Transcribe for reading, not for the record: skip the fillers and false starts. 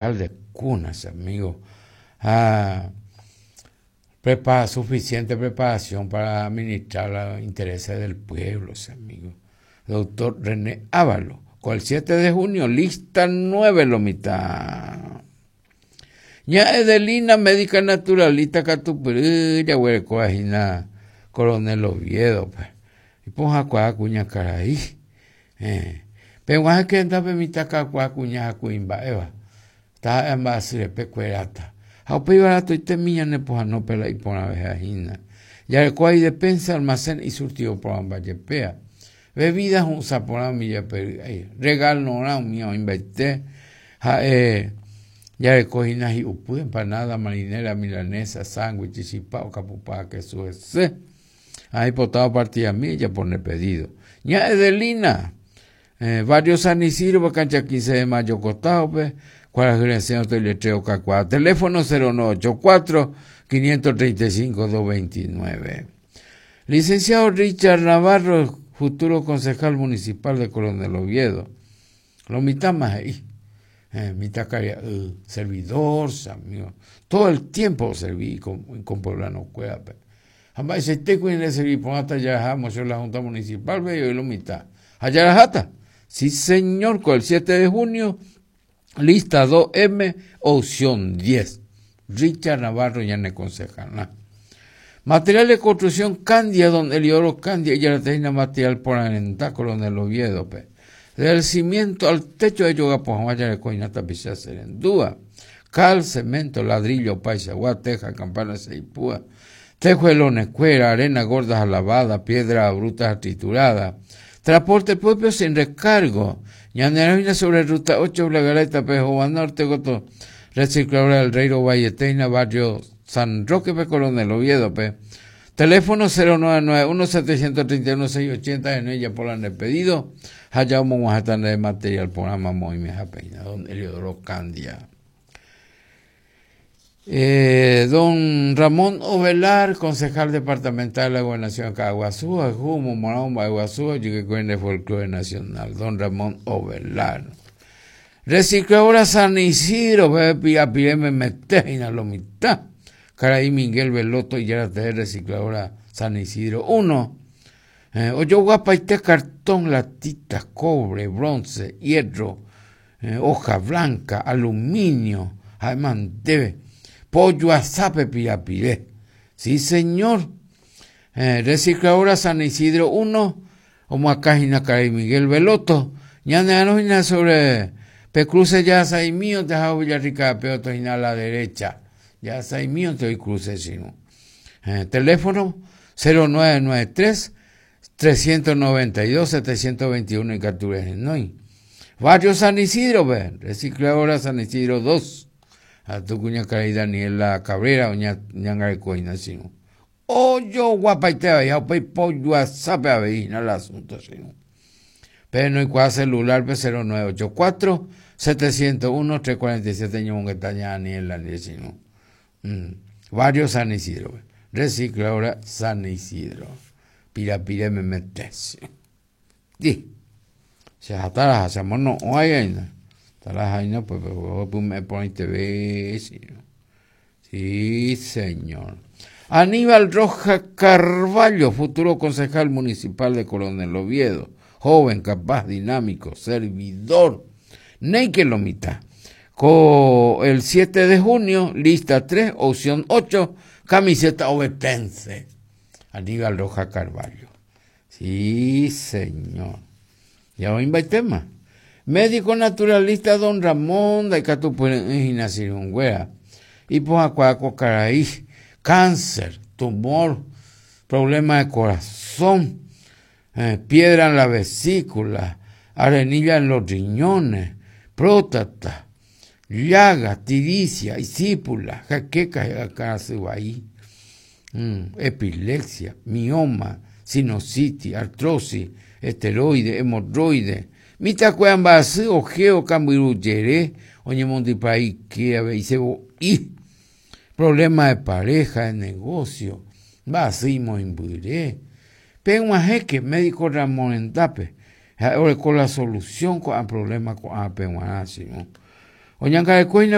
De cuna, che amigo. Ha prepara suficiente preparación para administrar los intereses del pueblo, che amigo. Doctor René Ávalos, con el 7 de junio, lista 9 lo mitad. Ña Edelina, médica naturalista katupyry, jaguerekóva hína Coronel Oviedo pe. Ipohãkuaa kuñakarai. Héẽ. Peg̃uahẽke hendápe mitã kakuaa kuña ha kuimba'éva, taha'e mba'asy repe kueráta. Ha upéi varatoitémi ñane pohãnópe la iporãveha hína. Jarekóva idepensa almacén isurtido porãmba jepéa. Bebida hu'ũsa porã umi jepe ry'ái. Regalorã umi oĩmbaite ha'e jareko hína hi'upy, empanada, marinera, milanesa, sándwich, chipa, okapupa ha kesu hese. Ha aipotáva partidami ejapo nde pedido. Ña Edelina, eh, barrio San Isidro, cancha 15 de mayo costado-pe, kuarahy resẽ otoiletreo okakuaa. Teléfono 0984 535 229. Licenciado Richard Navarro, futuro concejal municipal de Coronel Oviedo. Lo mitãma he'i, eh, mitãkaria'y servidor, che amigo. Todo el tiempo oservi ikompueblanokuérape. Ha mba'eichaite ku ñande servi porãta jaraha moción la Junta Municipal-pe he'i lo mitã. Ha jaraháta. Sí señor, con el 7 de junio, lista 2M, opción 10. Richard Navarro ñane concejal. Material de construcción Candia, don Eliodoro Candia, ijaratehína material porãrenda Coronel Oviedo-pe. Del cimiento al techo de jogapo hag̃ua jarekóina tapicha serendúva. Cal, cemento, ladrillo opaichagua, teja, campana seipúa, tejuelonekuéra, arena gorda ha lavada, piedra bruta ha triturada. Transporte propio sin recargo. Ñanerõhína sobre ruta 8 La Galeta-pe hova norte gotyo, Recicladora del Rey Rovaietéina barrio San Roque-pe Coronel Oviedo-pe. Teléfono 0991 731 680 henói ejapo la nde pedido ha ja omog̃uahẽta ndéve material porã mamo oimehápe hína don Eliodoro Candia. Eh, don Ramón Ovelar, concejal departamental de la Gobernación de Caaguazú, Ajú, omomorã omba'eguasu ojykekuéi nde folklore nacional. Don Ramón Ovelar. Recicladora San Isidro, pe pirapire memete hína lo mitã. Karai Miguel Veloto ijára tee recicladora San Isidro 1. Eh, ojoguapaite cartón, latita, cobre, bronce, hierro, eh, hoja blanca, aluminio, ha'éma ndéve. Pojoasápe pirapire. Sí, señor. Eh, recicladora San Isidro 1, omoakã hína karai Miguel Veloto. Ñane'arõ hína sobre pe cruce Jahasaimíonte ha Villarrica-pe oto hína a la derecha. Jahasaimíonte oĩ cruce chirũ. Eh, teléfono 0993 392 721 ikatu rehenói. Barrio San Isidro-pe, Recicladora San Isidro 2. Ha tu kuñakarai Daniela Cabrera oñangareko hína chirũ. Ojoguapaite avei ha upéi pojoasápe avei hína la asunto chirũ. Pehenoikuaa celular-pe 0984 701 347 ñomongeta ña Daniela ndive chirũ. Mm. Barrio San Isidro-pe. Recicladora San Isidro. Pirapire memete. Di. Che hataraha che amono'õ aína. Tarahaína upépe ohepyme'ẽ porãiteve chirũ. Sí, señor. Aníbal Rojas Carballo, futuro concejal municipal de Coronel Oviedo, joven, capaz, dinámico, servidor. Néike lo mitã. Ko el 7 de junio, lista 3, opción 8, camiseta ovetense. Aníbal Rojas Carballo. Sí, señor. Ya oĩmbaitéma. Médico naturalista don Ramón ndaikatupyry'ỹ hína sirũnguéra. Ipohãkuaa ko karai, cáncer, tumor, problema de corazón, eh, piedra en la vesícula, arenilla en los riñones, próstata, llaga, tiricia, isípula, jaqueca, akãrasy vai, mm, epilepsia, mioma, sinusitis, artrosis, esteroide, hemorroide, mitãkuéra mba'asy, ojeo, kambyru jere, oñemondypa ike avei sevo'i, problema de pareja, de negocio, mba'asy imoĩmbyre. Peg̃uahẽke médico ramo rendápe, ha'e oreko la solución ko'ã problema ko'ã peg̃uarã, che irũ. Oñangarekóina.